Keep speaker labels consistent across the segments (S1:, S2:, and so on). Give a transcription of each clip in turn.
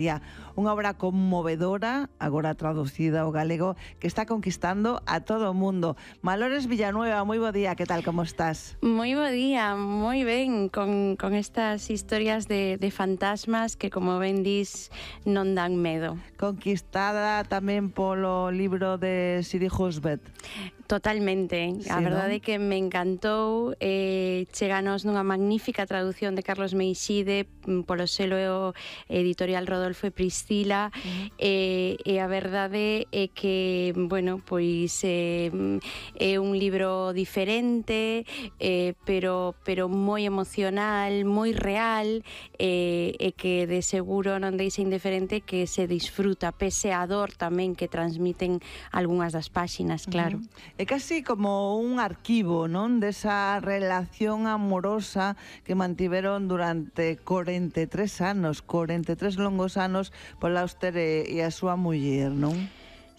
S1: Unha obra conmovedora, agora traducida ao galego, que está conquistando a todo o mundo. Malores Villanueva, moi bo día, que tal, como estás?
S2: Moi bo día, moi ben, con estas historias de fantasmas que, como ben dis, non dan medo.
S1: Conquistada tamén polo libro de Siri Husbeth.
S2: Totalmente,
S1: Sí,
S2: a verdade
S1: non?
S2: que me encantou, cheganos nunha magnífica traducción de Carlos Meixide polo selo editorial Rodolfo e Priscila, e a verdade é que, bueno, pois é un libro diferente, pero moi emocional, moi real, e que de seguro non deixa indiferente, que se disfruta, pese a dor tamén que transmiten algunhas das páxinas, claro.
S1: É casi como un arquivo, non? Desa relación amorosa que mantiveron durante 43 anos, 43 longos anos, Paul Auster e a súa muller, non?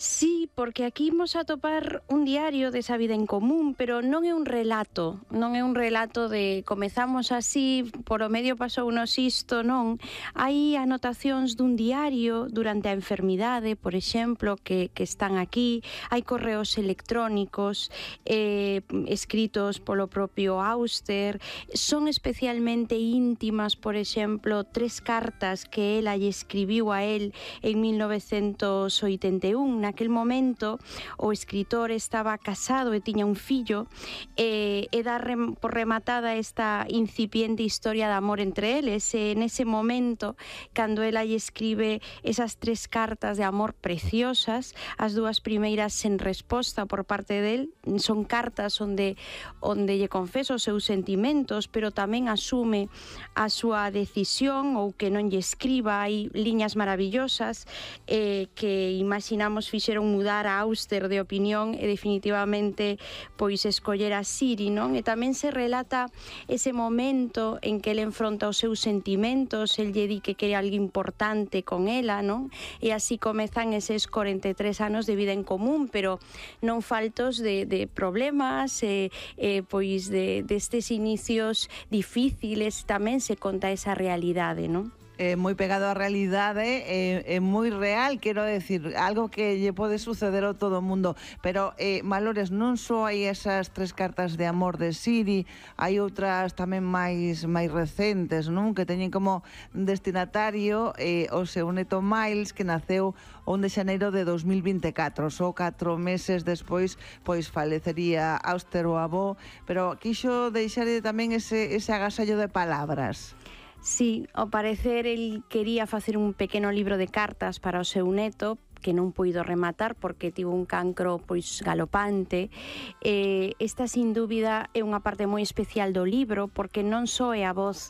S2: Sí, porque aquí imos a topar un diario desa vida en común, pero non é un relato, non é un relato de comezamos así, por o medio pasou unos isto, non. Hai anotacións dun diario durante a enfermidade, por exemplo, que están aquí, hai correos electrónicos escritos polo propio Auster, son especialmente íntimas, por exemplo, 3 cartas que ela lle escribiu a él en 1981, naquel momento o escritor estaba casado e tiña un fillo, e dá por rematada esta incipiente historia de amor entre eles, e nese momento, cando ela lle escribe esas 3 cartas de amor preciosas, as 2 primeiras sen resposta por parte del, son cartas onde lle confesa os seus sentimentos, pero tamén asume a súa decisión ou que non lle escriba. Hai liñas maravillosas que imaginamos fixeron mudar a Auster de opinión e definitivamente pois escoller a Siri, non? E tamén se relata ese momento en que ele enfronta os seus sentimentos, el lle di que quere algo importante con ela, non? E así comezan eses 43 anos de vida en común, pero non faltos de problemas, pois destes inicios difíciles, tamén se conta esa realidade, non?
S1: Moi pegado á realidade, é moi real, quero decir, algo que lle pode suceder a todo o mundo, pero Malores, non só hai esas 3 cartas de amor de Siri, hai outras tamén máis recentes, non? Que teñen como destinatario o seu neto Miles, que naceu o 1 de xaneiro de 2024, só 4 meses despois pois falecería Auster o avó, pero quixo deixar tamén ese agasallo de palabras.
S2: Sí, ao parecer el quería facer un pequeno libro de cartas para o seu neto, que non puido rematar porque tivo un cancro pois galopante. Esta sin dúbida é unha parte moi especial do libro, porque non só é a voz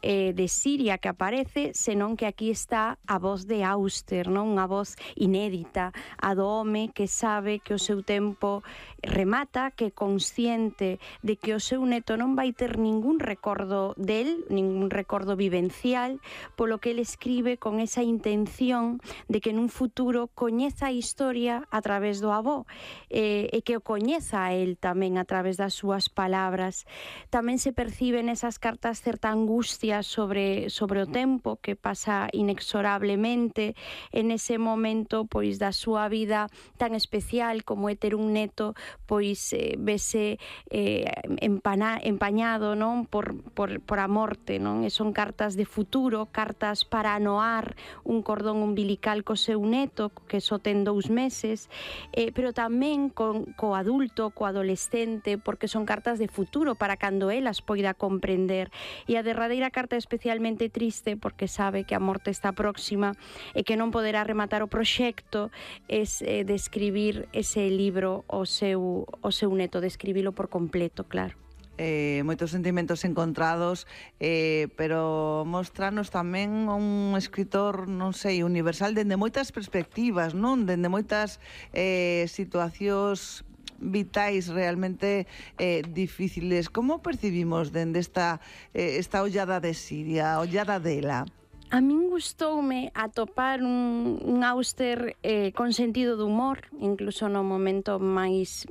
S2: de Siria que aparece, senón que aquí está a voz de Auster, non? Unha voz inédita, a do home que sabe que o seu tempo remata, que é consciente de que o seu neto non vai ter ningún recordo del, ningún recordo vivencial, polo que ele escribe con esa intención de que nun futuro coñeza a historia a través do avó, e que o coñeza a él tamén a través das súas palabras. Tamén se percibe nesas cartas certa angustia sobre o tempo que pasa inexorablemente en ese momento pois da súa vida tan especial como é ter un neto, pois vese empañado, non, por a morte, non? E son cartas de futuro, cartas para anoar un cordón umbilical co seu neto, que só ten 2 meses, pero tamén co adulto, co adolescente, porque son cartas de futuro para cando elas poida comprender. E a derradeira carta é especialmente triste porque sabe que a morte está próxima e que non poderá rematar o proxecto de escribir ese libro ao seu neto, de escribilo por completo, claro.
S1: Moitos sentimentos encontrados, pero mostranos tamén un escritor, non sei, universal dende moitas perspectivas, non? Dende moitas situacións vitais realmente difíciles. Como percibimos dende esta ollada de Siria, a ollada dela?
S2: A min gustoume atopar un Auster con sentido de humor, incluso no momento máis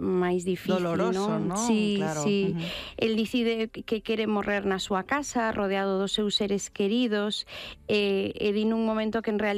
S2: difícil,
S1: doloroso,
S2: non?
S1: ¿no?
S2: Sí,
S1: Claro.
S2: sí. El decide que quere morrer na súa casa, rodeado dos seus seres queridos, e di nun momento que en realidad